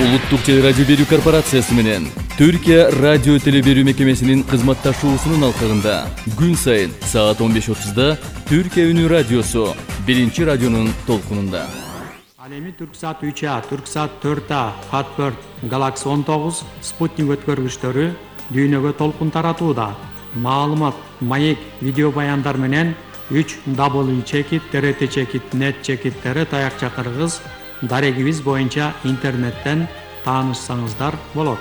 Улуттук телерадио берүү корпорациясы менен Түркия радио телеберүү мекемесинин кызматташуусунун алкагында күн сайын саат 15:30 Түркия үнү радиосу биринчи радионун толкунунда. Ал эми Түрксат 3А, Түрксат 4А, Хатберт, Galaxy 19 спутник өткөргүчтөрү дүйнөгө толкун таратууда. Маалымат, маек, видео баяндар менен 3w.trt.net таякча дарегибиз боюнча интернеттен таанышсаңыздар болот.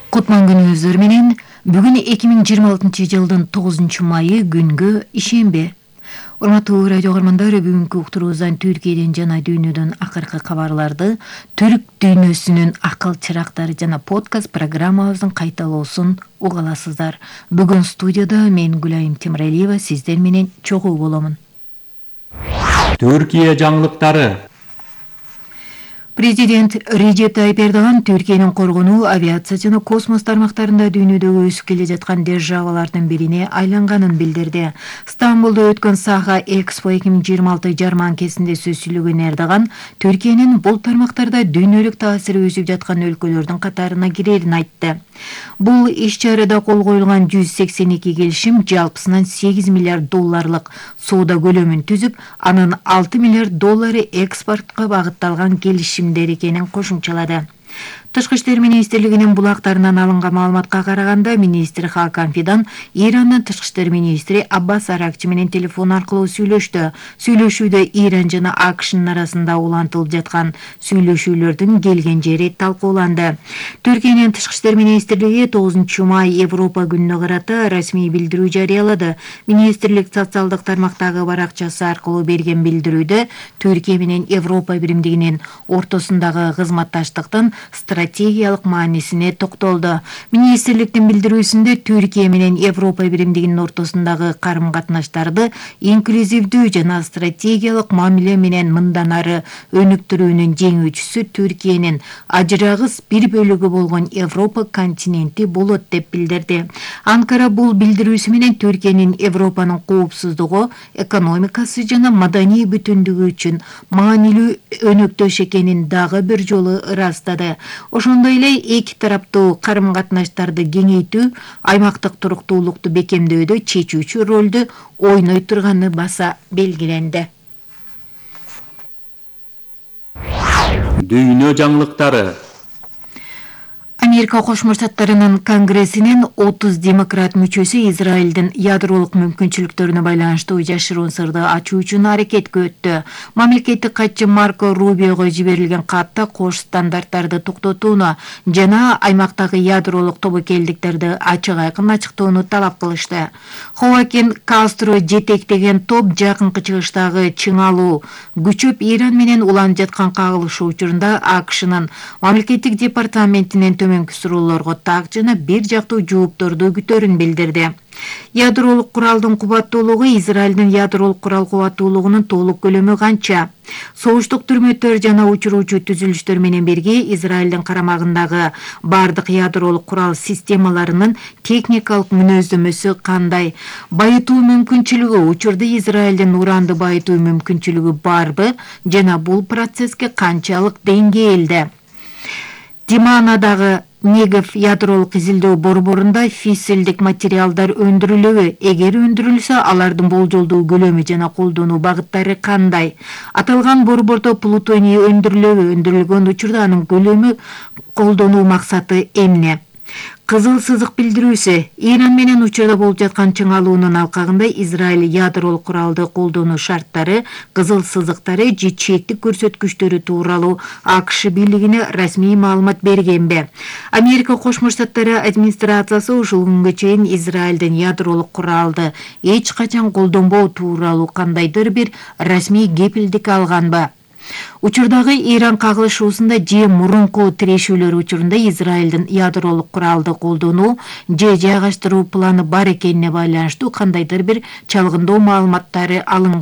Кутман күнүңүздөр менен бүгүн 2026 жылдын 9 майы күнгө ишемби. Урматтуу радио көрмандар, бүгүнкү уктуруубуздан Түркияден жана дүйнөдөн акыркы кабарларды, түрк дүйнөсүнүн акыл чырактары жана подкаст программабыздын кайталоосун уга аласыздар. Бүгүн студияда мен Гүлайым Темиралиева сиздер менен чогуу боломун. Түркия жаңылыктары. Президент Режеп Тайип Эрдоган Түркиянын коргонуу, авиация жана космос тармактарында дүйнөдөгү өсүп келе жаткан державалардын бирине айланганын билдирди. Стамбулда өткөн Саха Экспо 2026 жарманкесинде сөз сүйлөгөн Эрдоган Түркиянын бул тармактарда дүйнөлүк таасири өсүп жаткан өлкөлөрдүн катарына кирерин айтты. Бул иш-чарада кол коюлган 182 келишим жалпысынан 8 миллиард долларлык соода көлөмүн түзүп, анын 6 миллиард доллары экспортко багытталган келишимдер экенин кошумчалады. Тышкы иштер министрлигинин булактарынан алынган маалыматка караганда, министр Хакан Фидан Ирандын тышкы иштер министри Аббас Аракчы менен телефон аркылуу сүйлөштү. Сүйлөшүүдө Иран жана АКШнын арасында улантылып жаткан сүйлөшүүлөрдүн келген жери талкууланды. Түркиянын тышкы иштер министрлиги 9 май Европа күнүнө карата расмий билдирүү жарыялады. Министрлик социалдык тармактагы баракчасы аркылуу берген билдирүүдө Түркия менен Европа биримдигинин ортосундагы кызматташтыктын стратегиялык маанисине токтолду. Министрликтин билдирүүсүндө Түркия менен Европа биримдигинин ортосундагы карым-катнаштарды инклюзивдүү жана стратегиялык мамиле менен мындан ары өнүктүрүүнүн жеңүүчүсү Түркиянын ажырагыс бир бөлүгү болгон Европа континенти болот деп билдирди. Анкара бул билдирүүсү менен Түркиянын Европанын коопсуздугу, экономикасы жана маданий бүтүндүгү үчүн маанилүү өнөктөш экенин дагы бир жолу ырастады. Ошондой эле эки тараптуу карым-катнаштарды кеңейтүү аймактык туруктуулукту бекемдөөдө чечүүчү ролду ойной турганы баса белгиленди. Дүйнө жаңылыктары. Америка Кошмо Штаттарынын Конгрессинин 30 демократ мүчөсү Израилдин ядролук мүмкүнчүлүктөрүнө байланыштуу жашыруун сырды ачуу үчүн аракетке өттү. Мамлекеттик катчы Марко Рубиого жиберилген катта кош стандарттарды токтотууну жана аймактагы ядролук тобокелдиктерди ачык айкын ачыктоону талап кылышты. Хоакин Кастро жетектеген топ жакынкы чыгыштагы чыңалуу күчөп Иран менен уланып жаткан кагылышуу учурунда АКШнын мамлекеттик департаментинен төмөнкү суроолорго так жана бир жактуу жоопторду күтөрүн билдирди. Ядролук куралдын кубаттуулугу Израилдин ядролук курал кубаттуулугунун толук көлөмү канча? Согуштук түрмөттөр жана учуруучу түзүлүштөр менен бирге Израилдин карамагындагы бардык ядролук курал системаларынын техникалык мүнөздөмөсү кандай? Байытуу мүмкүнчүлүгү, учурда Израилдин уранды байытуу мүмкүнчүлүгү барбы жана бул процесске канчалык деңгээлде? Диманадагы Негев ядролук изилдөө борборунда фиссилдик материалдар өндүрүлөбү? Эгер өндүрүлсө, алардын болжолдуу көлөмү жана колдонуу багыттары кандай? Аталган борбордо плутоний өндүрүлөбү? Өндүрүлгөн учурда анын көлөмү, колдонуу максаты эмне? Кызыл сызык билдирүүсү. Иран менен учурда болуп жаткан чыңалуунун алкагында Израиль ядролук куралды колдонуу шарттары, кызыл сызыктары же чектик көрсөткүчтөрү тууралуу АКШ бийлигине расмий маалымат бергенби? Америка Кошмо Штаттары администрациясы ушул күнгө чейин Израилдин ядролук куралды эч качан колдонбоо тууралуу кандайдыр бир расмий кепилдик алганбы? Учурдагы Иран кагылышуусунда же мурунку тирешүүлөр учурунда Израилдин ядролук куралды колдонуу же жайгаштыруу планы бар экенине байланыштуу кандайдыр бир чалгындоо маалыматтары алынган.